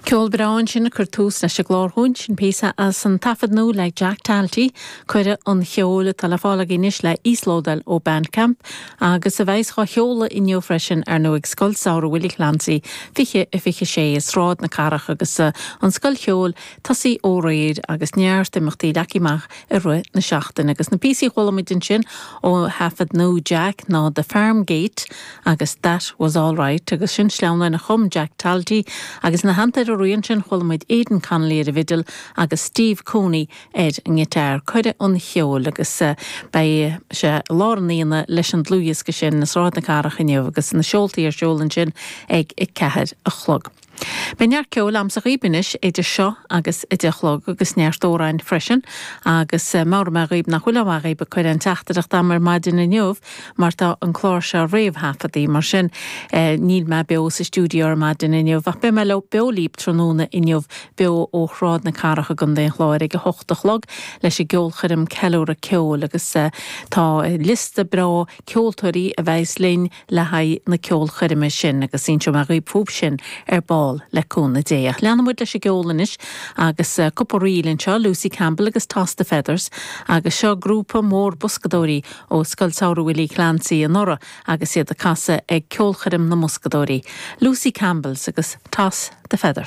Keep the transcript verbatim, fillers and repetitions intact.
Ceol breá ansin a chuir tús leis an gclár dhúinn sin píosa as an taifead nua le Jack Talty Cuireadh chun Ceoil atá le fáil anois le íoslódáil ó Bandcamp agus a bheas á sheoladh inniu freisin ar ndóigh ag Scoil Samhraidh Willie Clancy fiche a fiche sé i Sráid na Cathrach agus uh, an scoil cheoil tosaithe ó aréir agus neart imeachtaí leagtha amach i rith na seachtaine agus na píosaí a chuala muid ansin ó thaifead nua Jack ná The Farm Gate agus That Was All Right agus sin sleamhnáin a chum Jack Talty agus ina theannta ar an sin chuala muid Aidan Connolly ar an bhfidil agus Steve Cooney ar an ngiotár Cuireadh chun Ceoil agus uh, beidh sé lár an aonaigh leis an dlúthdhiosca sin i Sráid na Cathrach inniu agus na seoltaí ar siúl ansin ag a ceathair a chlog. Beidh neart ceoil a'msa dhaoibh anois idir seo agus a deich a chlog agus neart amhráin freisin agus uh, mar mé dhaoibh nach bhfuil agaibh ag cur an teachtaireacht agam ar maidin inniu mar tá an clár seo réamhthaifeadta mar sin eh, níl mé beo sa stiúideo ar maidin inniu ach beidh mé le beo libh tráthnóna inniu beo ó Shráid na Cathrach i gContae an Chláir ag a hocht a chlog leis an gceolchoirm ceiliúradh ceoil agus uh, tá liosta breá ceoltóirí a bheas linn le haghaidh na ceolchoirme sin agus inseoidh mé dhaoibh fúthu sin ar ball le cúnamh Dé. Leanfaidh muid leis an gceol anois agus uh, cúpla ríl anseo Lucy Campbell agus Toss the Feathers agus seo grúpa mór boscadóirí ó Scoil Samhraidh Willie Clancy anuraidh agus iad ag casadh ag ceolchoirm na mboscadóirí. Lucy Campbells agus Toss the Feathers.